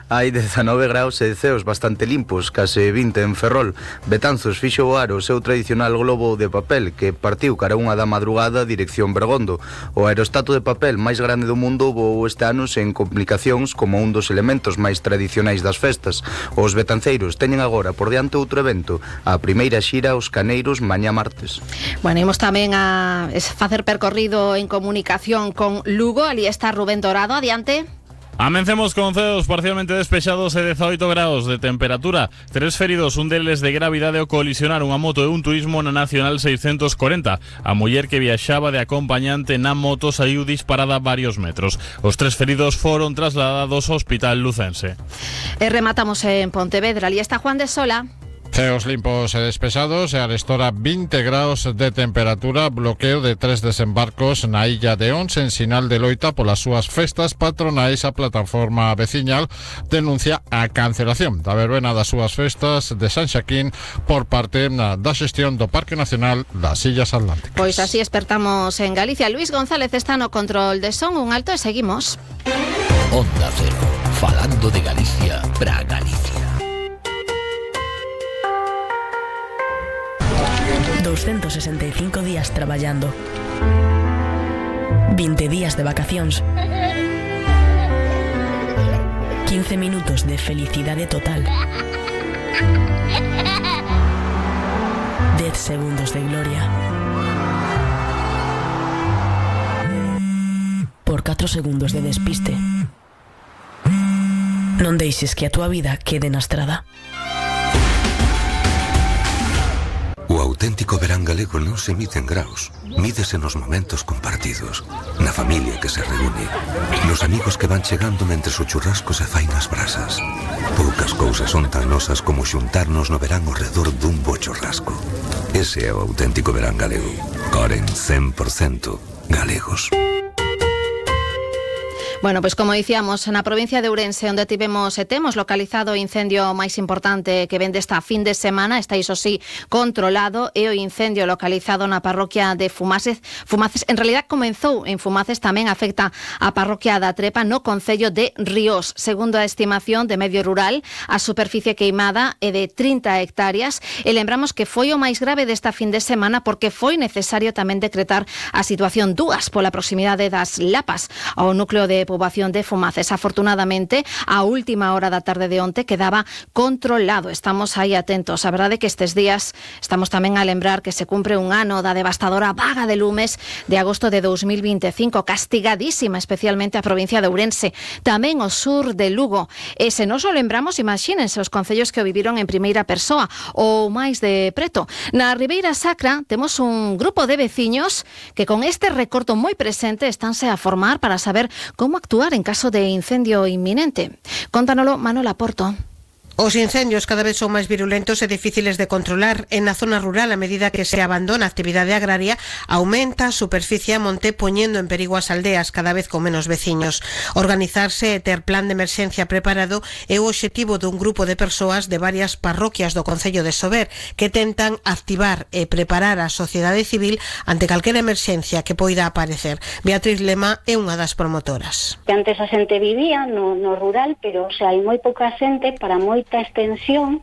Hai 19 graus e ceos bastante limpos, case 20 en Ferrol. Betanzos fixo voar o seu tradicional globo de papel que partiu cara unha da madrugada dirección Bergondo. O aerostato de papel máis grande do mundo voou este ano sen complicacións como un dos elementos máis tradicionais das festas. Os betanceiros teñen agora por diante outro evento, a primeira xira aos Caneiros mañá martes. Bueno, imos tamén a facer percorrido en comunicación con Lugo. Ali está Rubén Dorado, adiante. Amencemos con ceos parcialmente despexados e 18 graus de temperatura. 3 feridos, un deles de gravidade ao colisionar unha moto e un turismo na Nacional 640. A muller que viaxaba de acompañante na moto saiu disparada varios metros. Os 3 feridos foron trasladados ao Hospital Lucense. E rematamos en Pontevedra. Ali está Juan de Sola. Ceos limpos e despexados e arestora 20 graus de temperatura, bloqueo de 3 desembarcos na illa de Ons en sinal de loita polas súas festas patronais. A plataforma veciñal denuncia a cancelación da verbena das súas festas de San Xaquín por parte da xestión do Parque Nacional das Illas Atlánticas. Pois así espertamos en Galicia. Luis González está no control de son. Un alto e seguimos. Onda Cero, falando de Galicia para Galicia. 265 días traballando, 20 días de vacacións, 15 minutos de felicidade total, 10 segundos de gloria, por 4 segundos de despiste. Non deixes que a túa vida quede na estrada. O auténtico verán galego non se mide en graus, mídese nos momentos compartidos, na familia que se reúne, nos amigos que van chegando mentres o churrasco se fai nas brasas. Poucas cousas son tan nosas como xuntarnos no verán ao redor dun bo churrasco. Ese é o auténtico verán galego. Coren 100% galegos. Bueno, pois como dicíamos, na provincia de Ourense, onde temos localizado o incendio máis importante que ven desta fin de semana, está iso sí controlado, e o incendio localizado na parroquia de Fumaces, en realidad comenzou en Fumaces, tamén afecta a parroquia da Trepa no concello de Ríos. Segundo a estimación de Medio Rural, a superficie queimada é de 30 hectáreas, e lembramos que foi o máis grave desta fin de semana porque foi necesario tamén decretar a situación 2 pola proximidade das Lapas ao núcleo de poboación de Fumaces. Afortunadamente, a última hora da tarde de onte quedaba controlado. Estamos aí atentos. A verdade é que estes días estamos tamén a lembrar que se cumpre un ano da devastadora vaga de lumes de agosto de 2025, castigadísima especialmente a provincia de Ourense, tamén o sur de Lugo. E se nos o lembramos, imagínense os concellos que o viviron en primeira persoa ou máis de preto. Na Ribeira Sacra temos un grupo de veciños que con este recorto moi presente estánse a formar para saber como actuar en caso de incendio inminente. Contánoslo Manuel Porto. Os incendios cada vez son máis virulentos e difíciles de controlar. En na zona rural, a medida que se abandona a actividade agraria, aumenta a superficie a monte, poñendo en perigo as aldeas cada vez con menos veciños. Organizarse e ter plan de emerxencia preparado é o obxectivo dun grupo de persoas de varias parroquias do concello de Sober que tentan activar e preparar a sociedade civil ante calquera emerxencia que poida aparecer. Beatriz Lema é unha das promotoras. Antes a xente vivía no rural, pero hai moi pouca xente para moita extensión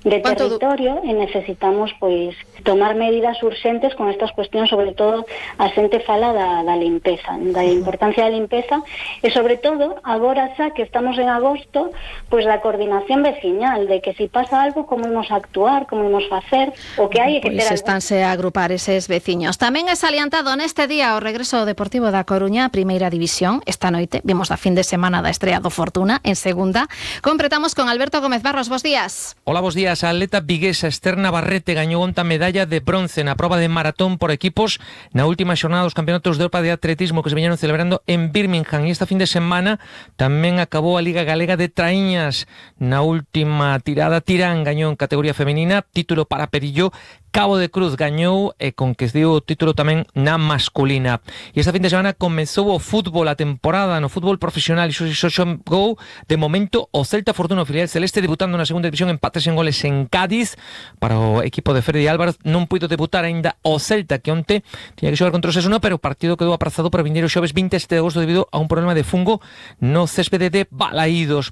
de territorio e necesitamos pois tomar medidas urxentes con estas cuestións, sobre todo a xente fala da limpeza, da importancia da limpeza e sobre todo agora xa que estamos en agosto, pois da coordinación veciñal, de que se pasa algo como imos actuar, como imos facer, o que hai que ter algo. Estánse a agrupar eses veciños. Tamén é salientado neste día o regreso ao Deportivo da Coruña, Primeira División. Esta noite vimos a fin de semana da estrea do Fortuna en segunda. Completamos con Alberto Gómez Barros, bos días. Hola, bos días. A atleta viguesa Esther Navarrete gañou onta medalla de bronce na proba de maratón por equipos na última xornada dos campeonatos de Europa de atletismo que se veñeron celebrando en Birmingham. E esta fin de semana tamén acabou a Liga Galega de Traíñas. Na última tirada, Tirán gañou en categoría femenina, título para Perillo, Cabo de Cruz gañou e conquistiu o título tamén na masculina. E esta fin de semana comezou o fútbol, a temporada no fútbol profesional, e iso xogou de momento o Celta Fortuna, o filial celeste, debutando na segunda división, empates en goles en Cádiz para o equipo de Freddy Álvarez. Non puido debutar aínda o Celta, que onte tiña que xogar contra o Osasuna, pero o partido quedou aprazado para o vindeiro xoves 27 de agosto debido a un problema de fungo no céspede de Balaídos.